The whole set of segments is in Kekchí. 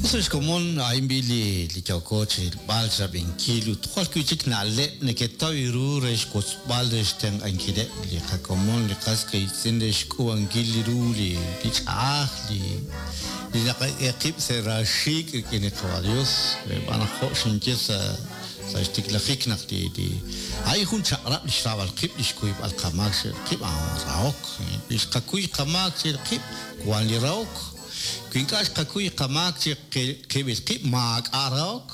Us ex komon, a'in b'i' li yooko chi rilb'al, xrab'inkil ut jwal wi'chik na'leb' neketaw ru re xwotzb'al re xtenq'ankileb' li qakomon, li qas qiitz'in re xk'uub'ankil ru li ch'a'aj, li naqak'e qib' sa' raaxiik' rik'in li Qawa' Dios, xb'aan naq jo' xinye sa' sa' xtiklajik naq li a'in jun chaq'rab' li xraab'al qib', li xkuyb'al qamaak chiru qib', a'an rahok. Wi xqakuy qamaak chiru qib', wan li rahok. Wi ink'a' xqakuy qamaak chi qib'il qib', maak'a' rahok,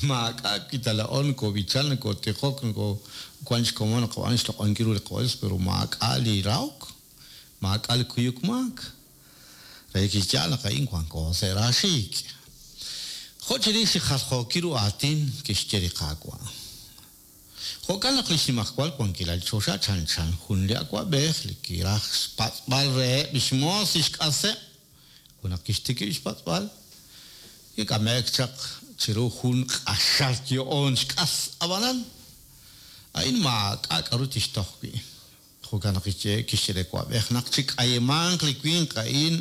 maak'a' wi ta laa'o nokob'ichan, nokotijok, nokowan xkomon naqab'aanu xloq'onkil ru li qaDios, pero maak'a' li rahok, maak'a' li kuyuk maak. Relik chi yaal naq a'in wanko sa' raaxiik'. Jo' chirix li jaljookil ru aatin kixye li Qaawa'. Jo'kan naq li xnimajwal wankilal li choxa chanchan jun li awab'ej li kiraj xpatz'b'al reheb' li xmoos li xk'aseb'. Ut naq kixtikib' xpatz'b'al, kik'ame'k chaq chiru jun q'axal yo'oon xk'as. Ab'anan, a'in maak'a' k'aru tixtoj wi'. Jo'kan naq kixye li awab'ej naq chik'ayimanq li winq a'in,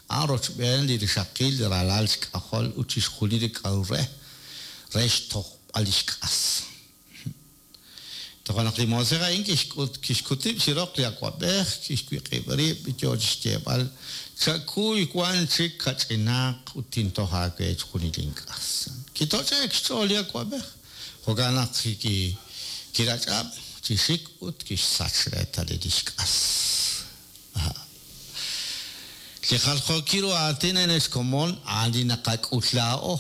a'an rochb'een li rixaqil, li ralal xk'ajol ut chixjunil li k'aru re, re xtojb'al li xk'as. Toja' naq li moosej a'in kixk'ut kixkut rib' chi roq li awab'ej, kixwiq'ib' rib', yo chi xyeeb'al, Chakuy wan chik kach'inaq ut tintoj aawe chixjunil link'as. Kitoch'e'k xch'ool li awab'ej. Jo'kan naq kirach'ab' chi xik ut kixsach reetalil li xk'as. Li jaljookil ru aatin a'in ex komon a'an li naqak'ul laa'o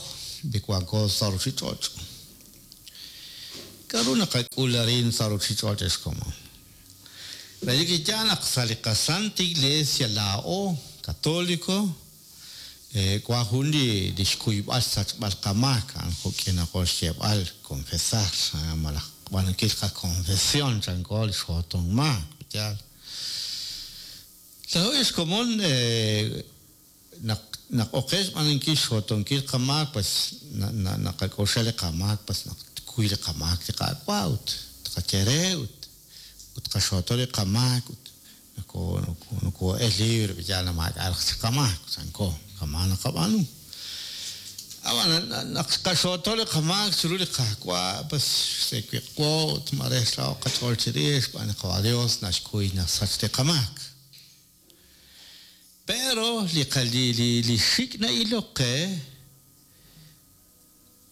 li wanko sa' ruchich'och'. K'a'ru naqak'ul arin sa' ruchich'och' ex komon? Relik chi yaal naq sa' li qaSanta Iglesia laa'o, Catolico, Wan jun li xkuyb'al xsachb'al qamaak, a'an jo'k'inaqo xyeeb'al, confesar, malaj xb'aanunkil qakonfesion, chanko li xjoton maak, yaal. Laa'o ex komon naq naq ok qe xb'aanunkil xjotonkil qamaak, pues naqak'oxla li qamaak, pues naq tkuy li qamaak li Qaawa' ut tqaye re ut ut tqaxooto li qamaak ut Nokoo'el libre ut yaal naq maak'a' raj chik qamaak, chanko, kama' naqab'aanu. Ab'an naq xqaxooto li qamaak chiru li Qaawa', pues xsewiq'wo ut maare xraho'k qach'ool chirix xb'aan li Qawa' Dios naxkuy naxsach li qamaak. Pero li xik' na'ilok qe,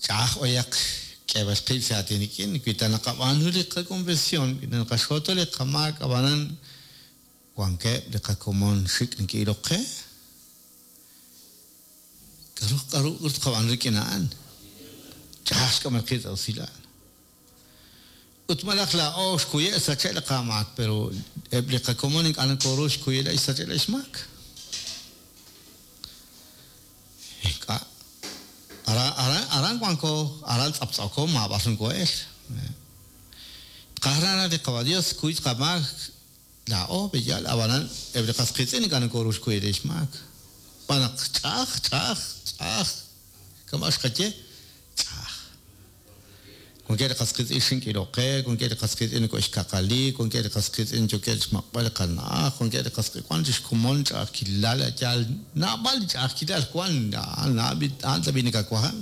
Ch'a'aj b'ayaq k'eeb'al qib' sa' aatin rik'in, wi ta naqab'aanu li qakonfesion, wi ta naqaxooto li qamaak ab'anan wankeb' li qakomon xik' neke'ilok qe, k'aru k'aru tqab'aanu rik'in a'an? Ch'a'aj xk'amb'al qib' sa' usilal. Ut malaj laa'o xkuye' xsache' li qamaak, pero eb' li qakomon ink'a' nokooru xkuyela' xsache' li xmaak. Ink'a'. Aran, aran, aran wanko, aran tz'aptz'ooko, maab'ar nokoo'el. Tqaj raj li Qawa' Dios kuy qamaak laa'o, pe'yaal, ab'anan eb' li qas qiitz'in ink'a' nokooru xkuyb'al li xmaak. Xb'aan naq ch'a'aj, ch'a'aj, ch'a'aj, kama' xqaye, ch'a'aj. Wankeb' li qas qiitz'in xink'ilok qe, wankeb' li qas qiitz'in noko'xkaqali, wankeb' li qas qiitz'in yookeb' xmaq'b'al li qana'aj, wankeb' li qas wan chi xkomon ch'a'ajkilal, a' yaal naab'al li ch'a'ajkilal wan, a'an tab'i' nakawahan,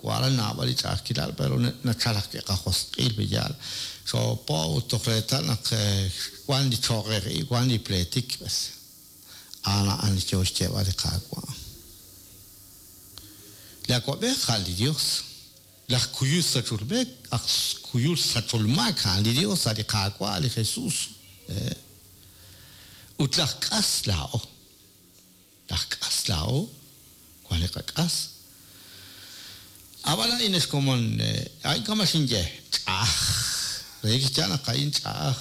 wan naab'al li ch'a'ajkilal pero nachal ajwi' qajosq'il pe' yaal, xoopo ut toj reetal naq wan li choqej ib', wan li pleetik b'es. A'an a'an li yoo xyeeb'al li Qaawa'. Li awab'ej a' li Yos. Laj kuyul sachol b'e, aj kuyul sachol maak a'an li Yos, a' li Qaawa', li Jesus. Ut laj k'as laa'o. Laj k'as laa'o, wan li qak'as. Ab'an a'in ex komon, a'in kama' xinye, ch'a'aj. Relik chi yaal naq a'in ch'a'aj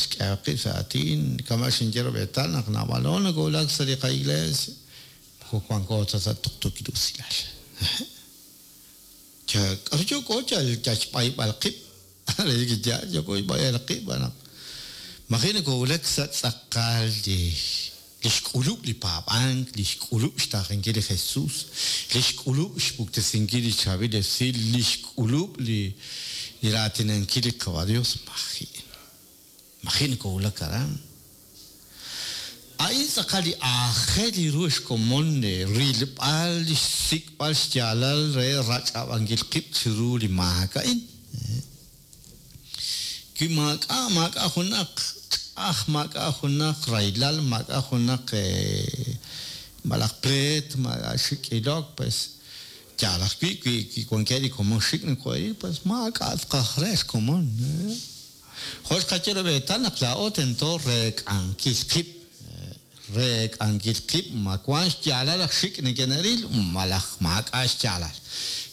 xk'ehaq qib' sa' aatin, kama' xinye rub'eetal naq naab'alo nokowulak sa' li qaiglees, moko wanko ta sa' tuqtuukil usilal. K'aru yooko yal xb'ayb'al qib'? Relik chi yaal yooko xb'ayb'al qib' xb'aan naq maji' nokowulak sa' tz'aqal li li xk'ulub' li paab'ank, li xk'ulub' xtaaqenkil li Jesus, li xk'ulub' xpuktesinkil li chaab'il esil, li xk'ulub' li raatinankil li Qawa' Dios, maji'. Maji' nokowulak aran. A'in tz'aqal li aajel ru xkomon rilb'al xsik'b'al xyaalal re rach'ab'ankil qib' chiru li maak a'in. Wi maak'a' maak'a' junaq ch'a'aj, maak'a' junaq rahilal, maak'a' junaq malaj pleet, maak'a' xik' ilok, pues yaal ajwi' wi wankeb' li komon xik' noko'e'ril, pues maak'a' tz'aqaj re xkomon. Jo' xqaye rub'eetal naq laa'o tento reek'ankil qib', reek'ankil qib' ma wank xyaalal aj xik' neke'ril malaj maak'a' xyaalal.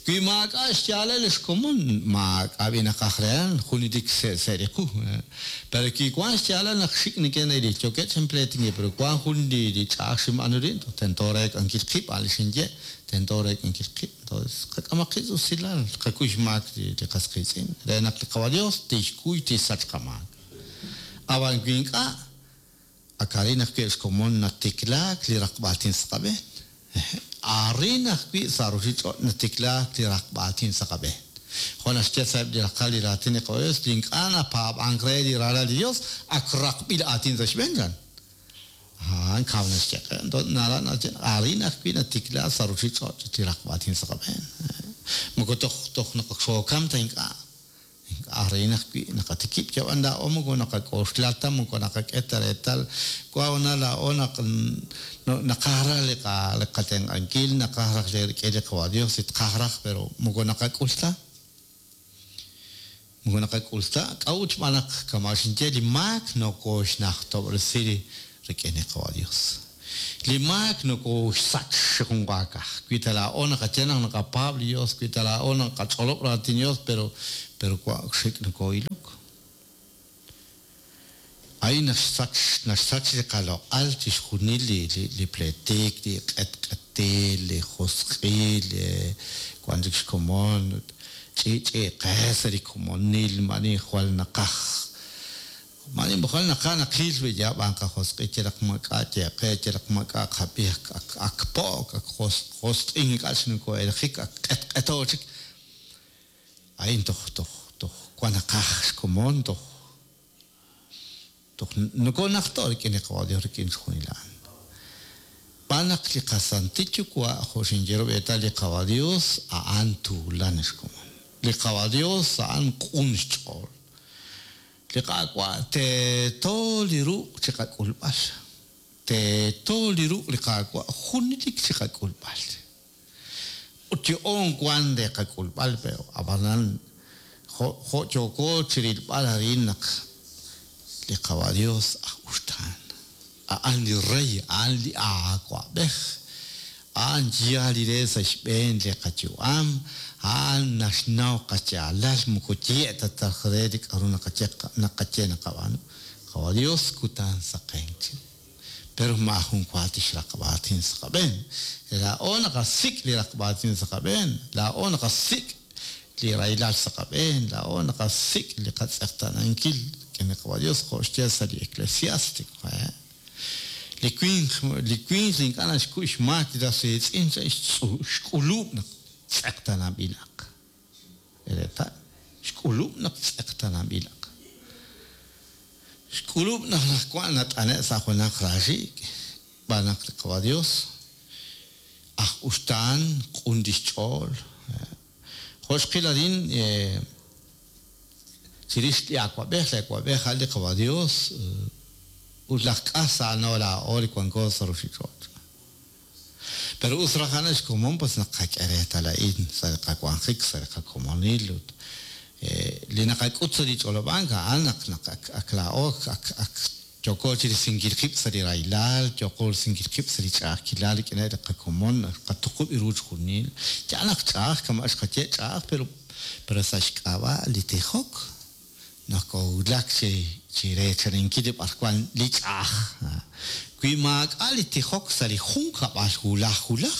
Wi maak'a' xyaalal xkomon, maak'a' b'i naqaj rehan, junelik se'se' li qu. Pero wi wank xyaalal naq xik' neke'ril, yookeb' chinpleetinkil, pero wank jun li ch'a'aj xinb'aanu rin, tento reek'ankil qib', a' li xinye, tento reek'ankil qib'. Entonces, qak'amaq qib' usilal, qakuy xmaak li qas qiitz'in, re naq li Qawa' Dios tixkuy tixsach qamaak. Ab'an wi ink'a', ak arin ajwi' xkomon natiklaak li raqb'aatin sa' qab'een. Arin ajwi' sa' ruuchich'och' natiklaak li raqb'aatin sa' qab'een. Jo' naxye sa'eb' li raqal li raatin li Qawa' Dios, li ink'a' napaab'ank re li ralal li Dios, ak raqb'il aatin sa' xb'een chan. A'an kaw naxye qe. Entonces, nara naxye arin ajwi' natiklaak sa' ruuchich'och' li raqb'aatin sa' qab'een. Moko toj toj naq xookam ta ink'a'. Arin ajwi' naqatikib' yab'an laa'o moko naqak'oxla ta, moko naqak'e ta reetal. Wa na laa'o naq naqaj raj li qatenq'ankil, naqaj raj li rik'in li Qawa' Dios li tqaj raj, pero moko naqak'ul ta. Moko naqak'ul ta, k'a'ut xb'aan naq kama' xinye li maak nokooxnajtob'resi rik'in li Qawa' Dios. Li maak nokooxsach chi junwaakaj. Wi ta laa'o naqaye naq naqapaab' li Dios, wi ta laa'o naqach'olob' raatin Dios, pero pero wa xik' nokoo'ilok. A'in naxsach naxsach li qaloq'al chixjunil li li pleetik, li q'etq'etil, li josq'il, wan chik xkomon, ch'i'ch'i'qe sa' li komonil, ma'ani jwal naqaj ma'ani jwal naqaj naqil wi yab'an qajosq'il yalaq maak'a' yeqe, yalaq maak'a' qab'i, ak ak po'k, ak josq'in ink'a' chik noko'elqik, ak q'etq'eto chik. A'in toj toj toj wan naqaj xkomon, toj toj nokoonajto' rik'in li Qawa' Dios rik'in chixjunil a'an. Xb'aan naq li qasantil Yuwa' jo' xinye rub'eetal li Qawa' Dios a'an tuulan xkomon. Li Qawa' Dios a'an q'un xch'ool. Li Qaawa' teeto li ruq' chiqak'ulb'al. Teeto li ruq' li Qaawa' junelik chiqak'ulb'al. Ut yo'oon wank re qak'ulb'al, pero ab'anan jo' jo' yooko chirilb'al arin naq li Qawa' Dios aj uxtaan. A'an li Rey, a'an li Awa'b'ej, a'an yaal li re sa' xb'een li qayu'am, a'an naxnaw qayaalal, moko ye' ta taj re li k'a'ru naqaye naqaye naqab'aanu. Qawa' Dios kutan saqenk chiru. Pero maajun wa tixraqb' aatin sa' qab'een. Laa'o naqasik' li raqb'a aatin sa' qab'een, laa'o naqasik' li rahilal sa' qab'een, laa'o naqasik' li qatz'eqtaanankil rik'in li Qawa' Dios jo' xye sa' li Eclesiástico. Li winq li winq li ink'a' naxkuy xmaak li ras riitz'in xk'ulub' naq tz'eqtaananb'ilaq. Reetal, xk'ulub' naq tz'eqtaananb'ilaq. Xk'ulub' naq naq wank nat'ane' sa' junaq raaxiik', xb'aan naq li Qawa' Dios aj uxtaan q'un lix ch'ool. Jo' xqil arin chirix li awa'b'ej, li awa'b'ej a'an li Qawa' Dios ut laj k'as a'ano laa'o li wanko sa' ruuchich'och'. Pero us raj a'an xkomon pues naq qak'e reetal a'in sa' li qawanjik, sa' li qakomonil ut li naqak'ut sa' li ch'olob'ank a'an naq naq ak ak laa'o ak ak yooko chirisinkil qib' sa' li rahilal, yooko risinkil qib' sa' li ch'a'ajkilal rik'ineb' li qakomon, qatuqub' ru chixjunil. Yaal naq ch'a'aj kama' xqaye ch'a'aj, pero pero sa' xk'ab'a' li tijok nokowulak chi chireechaninkil li b'arwan li ch'a'aj. Wi maak'a' li tijok sa' li junkab'al wulaj wulaj,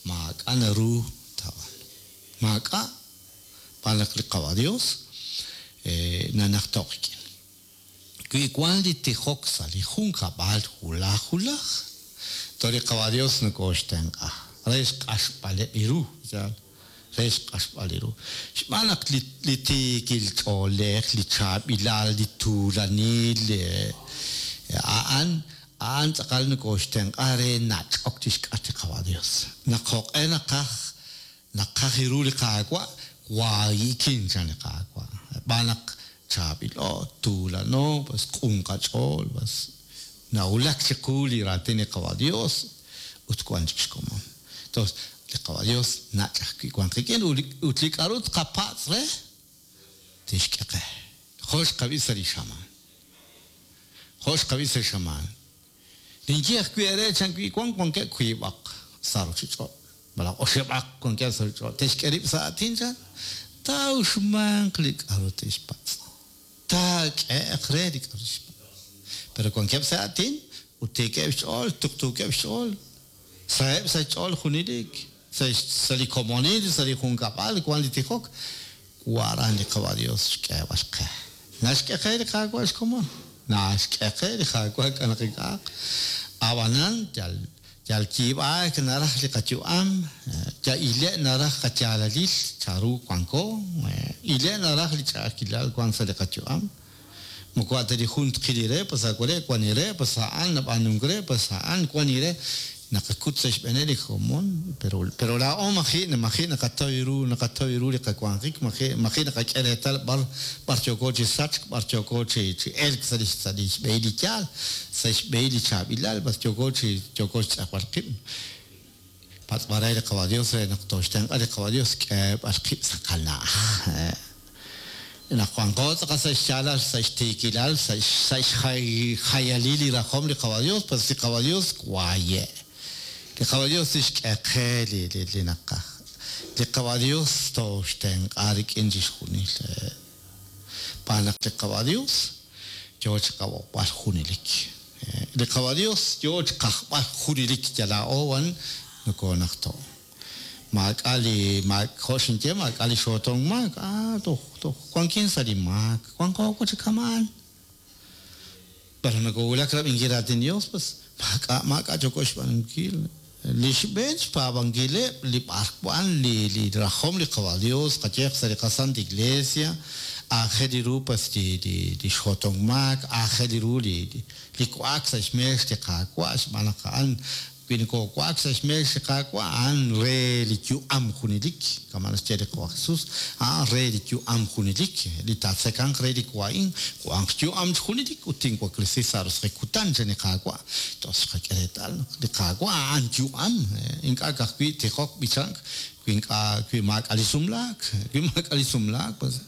maak'a' naru taab'aanu. Maak'a' xb'aan naq li Qawa' Dios nanajto' qik'in. Wi wank li tijok sa' li junkab'al wulaj wulaj, toj li Qawa' Dios nokooxtenq'a re xq'axb'aleb' ru, yaal, re xq'axb'al ru. Xb'aan naq li li tiikil ch'oolej, li chaab'ilal, li tuulanil, a'an A'an tz'aqal nokooxtenq'a re nach'ok chixk'atq li Qawa' Dios. Naq joq'e naqaj naqaj ru li Qaawa', waayi'kin chan li Qaawa'. Xb'aan naq chaab'ilo, tuulano, pues q'un qach'ool, pues nawulak chiqu li raatin li Qawa' Dios ut wan chik xkomon. Entonces, li Qawa' Dios nach' ajwi' wan qik'in ut li k'a'ru tqapatz' re tixk'e qe. Jo' xqab'i sa' li xamaan. Jo' xqab'i sa' li xamaan. Ninye ajwi' eere chan wi wan wankeb' wiib'aq sa' ruuchich'och', malaj oxib'aq wankeb' sa' ruuchich'och', te'xk'e rib' sa' aatin chan, taa'uxmanq li k'a'ru te'xpatz'. Taak'ehe'q re li k'a'ru te'xpatz'. Pero wankeb' sa' aatin ut tiikeb' xch'ool, tuqtuukeb' xch'ool, saheb' sa' xch'ool junelik, sa' li komonil, sa' li junkab'al wan li tijok, waran li Qawa' Dios xk'eeb'al qe. Naxk'e qe li Qaawa' xkomon. Naxk'e qe li Qaawa' k'a' naq ink'a'aq. Ab'anan yal yal yiib'aak naraj li qayu'am, yal ile' naraj qayaalalil chanru wanko, ile' naraj li ch'a'ajkilal wan sa' li qayu'am. Moko a' ta li jun tqil li re, pues a' ware' wan li re, pues a'an nab'aanunk re, pues a'an wan li re. Naqakut sa' xb'eeneb' li komon, pero pero laa'o maji' maji' naqataw ru naqataw ru li qawanjik, maji' maji' naqak'e reetal b'ar b'ar yooko chi sachk, b'ar yooko chi chi elk sa' li sa' li xb'ehil li yaal, sa' xb'ehil li chaab'ilal, b'ar yooko chi yooko xtz'eqb'al qib'. Patz'b'al re li Qawa' Dios re naq tooxtenq'a li Qawa' Dios k'eeb'al qib' sa' qana'aj. Naq wanqo tz'aqal sa' xyaalal, sa' xtiikilal, sa' xjayalil li rajom li Qawa' Dios, pues li Qawa' Dios waaye'. Li Qawa' Dios tixk'e qe li li naqaj. Li Qawa' Dios tooxtenq'a rik'in chixjunil. Xb'aan naq li Qawa' Dios yoo chiqab'oqb'al junelik. Li Qawa' Dios yoo chiqajb'al junelik yal laa'o wan nokoonajto'. Maak'a' li maak, jo' xinye, maak'a' li xootonk maak. Ah, toj, toj wankin sa' li maak, wanko chi kama'an. Pero nokowulak rab'inkil raatin Dios, pues maak'a' maak'a' yooko xb'aanunkil. Li xb'een xpaab'ankileb' li b'arwan li li rajom li Qawa' Dios qayeq sa' li qaSanta Iglesia, aajel ru pues li li li xootonk maak, aajel ru li li wa'ak sa' xmeex li Qaawa' xb'aan naq a'an wi nokowa'ak sa' xmeex li Qaawa', a'an re li yu'am junelik, kama' naxye li Qawa' Jesus, a'an re li yu'am junelik, li taatzekanq re li wa'in, wanq yu'am chi junelik ut tinwaklesi sa' roso'jik kutan chan li Qaawa'. Toj xqak'e reetal naq li Qaawa' a'an yu'am, ink'a' ka'ajwi' tijok b'ichank, wi ink'a' wi maak'a' li sumlaak, wi maak'a' li sumlaak, pues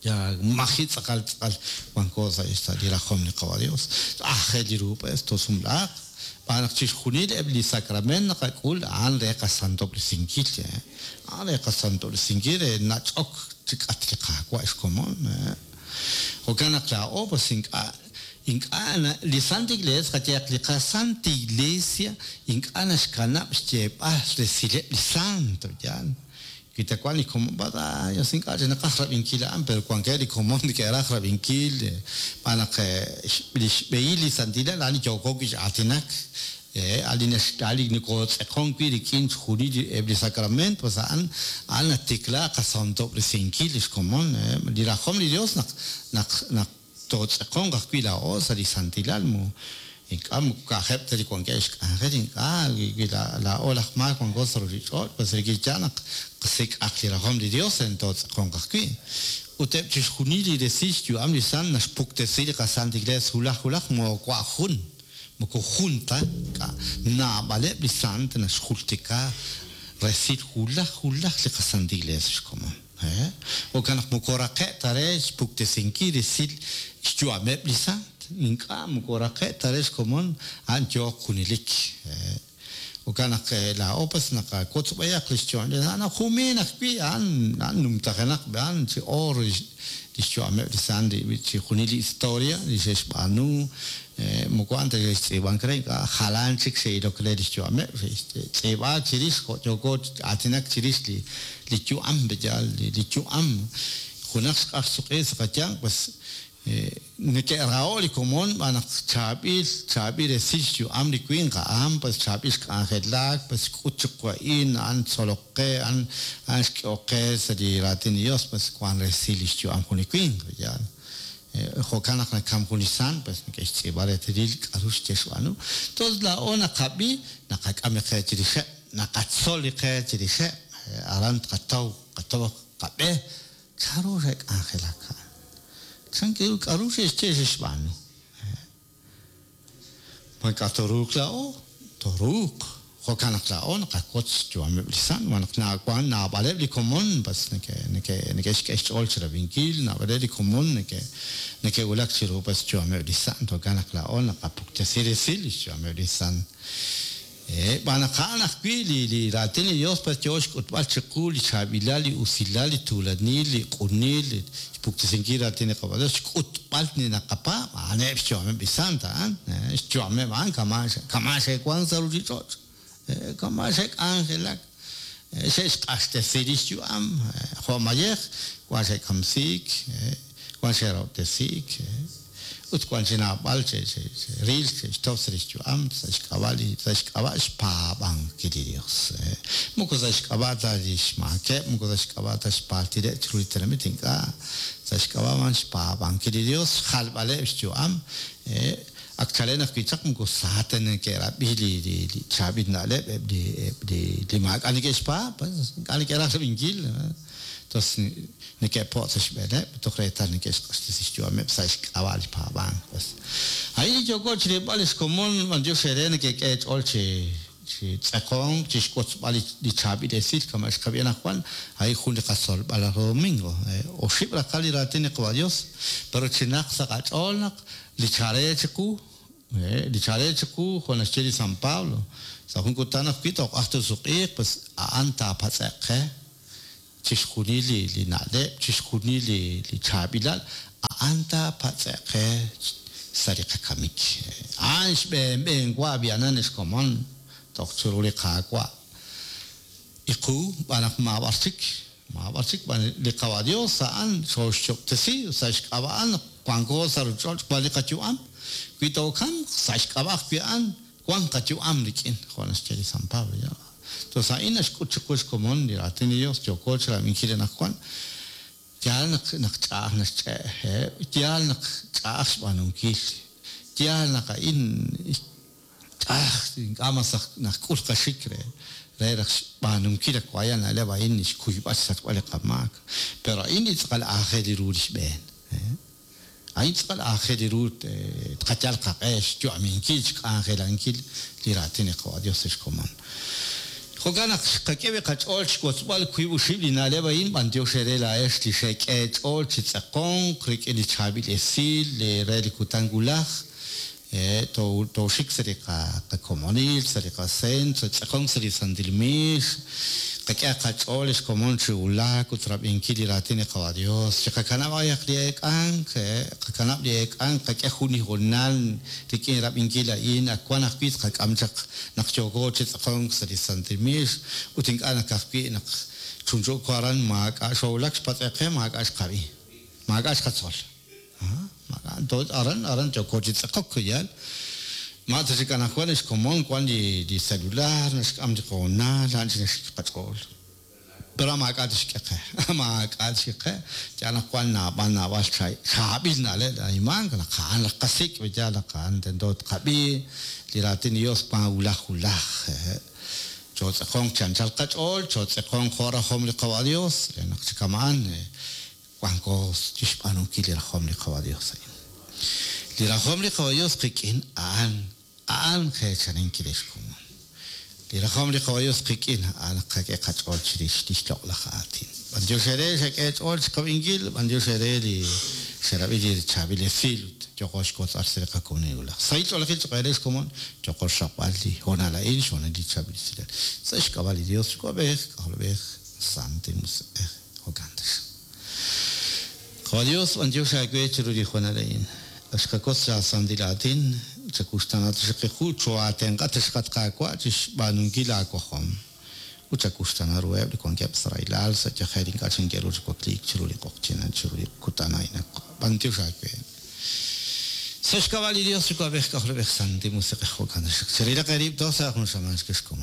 ya maji' tz'aqal tz'aqal wanko sa' sa' li rajom li Qawa' Dios. Aajel ru pues toosumlaaq, xb'aan naq chixjunil eb' li sacrament naqak'ul a'an re qasantob'resinkil, a'an re qasantob'resinkil re nach'ok chi k'atq li Qaawa' xkomon. Jo'kan naq laa'o pues ink'a' ink'a' li Santa Iglesia qayehaq li qaSanta Iglesia ink'a' naxkanab' xyeeb'al resileb' li santo, yaal. Wi ta wan li komon, ay, ink'a' chik naqaj rab'inkil a'an, pero wankeb' li komon neke'raj rab'inkil, xb'aan naq li xb'ehil li santilal a'an li yooko wi' chi aatinak, a'an li a'an li nokotz'eqon wi' rik'in chixjunil eb' li sacrament, pues a'an a'an natikla qasantob'resinkil li xkomon, li rajom li Dios naq naq naq tootz'eqonq ajwi' laa'o sa' li santilal, mu ink'a' moko ka'ajeb' ta li wankeb' xk'anjel, ink'a' wi laa'o laj maak wanko sa' ruuchich'och', pues rik'in yaal naq qasik'aq li rajom li Dios re tootz'eqonq ajwi'. Ut eb' chixjunil li resil xyu'am li sant naxpuktesi li qaSanta Iglesia wulaj wulaj moowa' jun, moko jun ta, ink'a' naab'aleb' li sant naxjultika resil wulaj wulaj li qaSanta Iglesia xkomon. Jo'kan naq moko raqe' ta re xpuktesinkil resil xyu'ameb' li sant, ink'a' moko raqe' ta re xkomon a'an yooq junelik. Jo'kan naq laa'o pues naqawotz b'ayaq li xyu'am li sant, a'an jumin ajwi' a'an a'an numtajenaq a'an chi oor li xyu'ameb' li sant chixjunil li historia li xe'xb'aanu, moko a'an ta xe'xtz'iib'ank re, ink'a' jalan chik xe'ilok re li xyu'ameb', xe'xtz'iib'aak chirix jo' yooko aatinak chirix li li yu'am, yaal li yu'am junaq xq'aj xsuq'i sa' qayanq, pues neke'raho' li komon xb'aan naq chaab'il chaab'il resil xyu'am li winq a'an, pues chaab'il xk'anjelak, pues xk'ut chiqu a'in, a'an tzolok qe, a'an a'an xk'ehok qe sa' li raatin li Dios, pues wan resil li xyu'am jun li winq, yaal. Jo'kan naq nakam jun li sant, pues neke'xtz'iib'a reetalil k'a'ru xye xb'aanu. Entonces laa'o naqab'i, naqak'am li qe chirixeb', naqatzol li qe chirixeb', aran tqataw, qataw qab'e, chanru xe'k'anjelak a'an. Chan ru k'a'ru xe'xye xe'xb'aanu. Ma ink'a' tooruuq laa'o? Tooruuq. Jo'kan naq laa'o naqawotz xyu'ameb' li sant, wan naq wan naab'aleb' li komon pas neke'xk'e xch'ool chirab'inkil, naab'aleb' li komon neke'wulak chiru pas xyu'ameb' li sant, jo'kan naq laa'o naqapuktesi resil li xyu'ameb' li sant. Xb'aan naq a'an ajwi' li raatin li Dios pas yoo xk'utb'al chiqu li chaab'ilal, li usilal, li tuulanil, li q'unil, xpuktesinkil raatin li Qaawa' Dios, xk'utb'al li naqapaab', a'aneb' xyu'ameb' li sant a'an, xyu'ameb' a'an kama' xe'wan sa' ruchich'och', kama' xe'k'anjelak, xe'xq'axtesi li xyu'am, jo' mayej, wan xe'kamsiik, wan xe'rahob'tesiik, ut wan chi naab'al xe'ril, xe'xtaw sa' li xyu'am, sa' xk'ab'a' li sa' xk'ab'a' xpaab'ankil li Dios. Moko sa' xk'ab'a' ta li xmaakeb', moko sa' xk'ab'a' ta xpaaltileb' chiru li tenamit, ink'a', sa' xk'ab'a' b'an xpaab'ankil li Dios, xjalb'aleb' xyu'am, ak chalen ajwi' chaq moko sa ta neke'rab'i li chaab'il na'leb' eb' li maak'a' neke'xpaab', ink'a' neke'raj rab'inkil. Entonces neke'po' sa' xb'eeneb', toj reetal neke'xq'axtesi xyu'ameb' sa' xk'ab'a' li paab'ank. Pues a'in li yooko chirilb'al lix komon, b'antiox eere nekek'e eech'ool chi tz'eqonk, chi xwotzb'al li chaab'il esil kama' xqab'i anaqwan, a'in jun li qatzolb'al laj domingo. Oxib' raqal li raatin li Qaawa' Dios, pero chinaq sa' qach'ool naq li chare chiqu, li chare chiqu, jo' naxye li San Pablo, sa' jun kutan ajwi' tooq'aj tosuq'iiq, pues a'an taapatz'e'q qe chixjunil li na'leb', chixjunil li chaab'ilal, a'an taapatz'e'q qe sa' li qakamik. A'an xb'een b'een wa b'ihanan ex komon toj chiru li Qaawa'. Iqu, b'an naq maab'ar chik, maab'ar chik, b'an li Qaawa' Dios a'an xooxyob'tesi sa' xk'ab'a' a'an naq wanko sa' ruchich'och' wan li qayu'am. Wi tookamq sa' xk'ab'a' ajwi' a'an wan qayu'am rik'in, jo' naxye li San Pablo. Entonces a'in naxk'ut chiqu xkomon li raatin li Dios yooko chirab'inkil anaqwan. Yaal naq naq ch'a'aj naxch'e', yaal naq ch'a'aj xb'aanunkil, yaal naq a'in ch'a'aj ink'a' mas naqk'ul qaxik re re raj xb'aanunkil ak waya na'leb' a'in xkuyb'al xsachb'al li qamaak. Pero a'in li tz'aqal aajel ru li xb'een. A'in tz'aqal aajel ru tqayal qaq'e xyu'aminkil, xk'anjelankil li raatin li Qaawa' Dios sa' xkomon. Jo'kan naq xqak'e wi' qach'ool xwotzb'al wiib' oxib' li na'leb' a'in, b'antiox eere laa'ex li xek'e eech'ool chi tz'eqonq rik'in li chaab'il esil re li kutan wulaj, tooxik sa' li qakomonil, sa' li qacentro, tz'eqonk sa' li Santil Miix, qak'e qach'ool xkomon chi wulak ut rab'inkil li raatin li Qaawa' Dios, chiqakanab' b'ayaq li eek'ank, qakanab' li eek'ank, qak'e jun li hoonal rik'in rab'inkil a'in, ak wan ajwi' tqak'am chaq naq yooko chi tz'eqonk sa' li Santil Miix, ut ink'a' naq ajwi' naq chunchu'ko aran maak'a' xoowulak xpatz'e qe, maak'a' xqab'i, maak'a' xqatzol. Aran, aran yooko chi tz'eqok, yaal. Ma ta chik anaqwan xkomon wan li celular, naxk'am li qoonal, a'an chik naxik qach'ool. Pero maak'a' tixk'e qe, maak'a' tixk'e qe. Yaal naq wan naab'al naab'al chaab'il na'leb' na'animank, naq a'an laj qasik', yaal naq a'an tento tqab'i li raatin li Dios wan wulaj wulaj. Chootz'eqonq chi anchal qach'ool, chootz'eqonq jo' rajom li Qaawa' Dios, re naq chi kama'an wanko chi xb'aanunkil li rajom li Qaawa' Dios a'in. Li rajom li Qaawa' Dios qik'in a'an a'an qeechaninkil ex komon. Li rajom li Qaawa' Dios qik'in a'an naq qak'e qach'ool chirix lix loq'laj aatin. B'antiox eere xak'e eech'ool chiqab'inkil, b'antiox eere li xerab'i li chaab'il esil ut yooko xwotzb'al sa' li qakomonil wulaj. Sahil ch'oolejil choq' eere xkomon, yooko xraqb'al li hoonal a'in, xhoonal li chaab'il esilal. Sa' xk'ab'a' li Dios Yuwa'b'ej, K'ajolb'ej, Santil Musiq'ej, jo'kan taxaq. Qaawa' Dios, b'antiox aawe chiru li hoonal a'in. Ak xqakotz laa santil aatin, chakuxtaana taxaq qu, choo'aatenq'a taxaq at Qaawa' chixb'aanunkil aawajom. Ut chakuxtaana ruheb' li wankeb' sa' rahilal, sa' yajel ink'a' chik neke'ru chi wakliik chiru li q'oqyink, chiru li kutan a'in. B'antiox aawe. Sa' xk'ab'a' li Dios Yuwa'b'ej, K'ajolb'ej, Santil Musiq'ej, jo'kan taxaq. Cherilaq eerib' toj sa' jun xamaan xkexkomon.